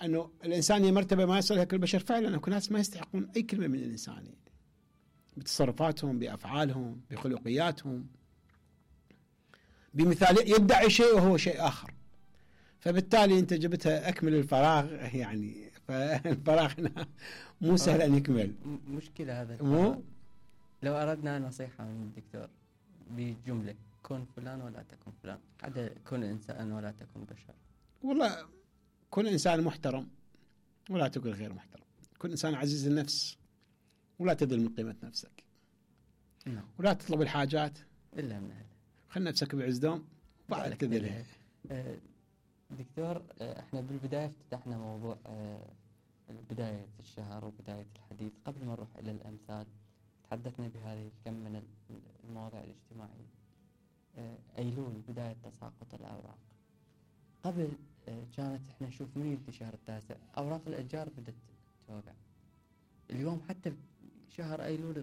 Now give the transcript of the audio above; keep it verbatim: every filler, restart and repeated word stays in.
أنه الإنسانية مرتبة ما يصلها كل البشر. فعلا أكو ناس ما يستحقون أي كلمة من الإنسانية بتصرفاتهم، بأفعالهم، بخلقياتهم، بمثال يدعي شيء وهو شيء آخر. فبالتالي أنت جبتها أكمل الفراغ، يعني فالفراغ هنا مو سهل أن يكمل. مشكلة هذا مو لو أردنا نصيحة من الدكتور بجملة: كن فلان ولا تكن فلان، عدا كن إنسان ولا تكن بشر. والله كن إنسان محترم ولا تكن غير محترم، كن إنسان عزيز النفس ولا تذل من قيمة نفسك، نعم. ولا تطلب الحاجات إلا من أهله، خل نفسك بعز دوم وبعد تذلها. أه دكتور، أه احنا بالبداية افتتحنا موضوع أه بداية الشهر وبداية الحديث. قبل ما نروح إلى الأمثال تحدثنا بهذه الكم من المواضيع الاجتماعية. أه أيلول بداية تساقط الأوراق. قبل أه كانت احنا نشوف من يبدي شهر التاسع أوراق الأشجار بدأت توقع. اليوم حتى شهر أيلول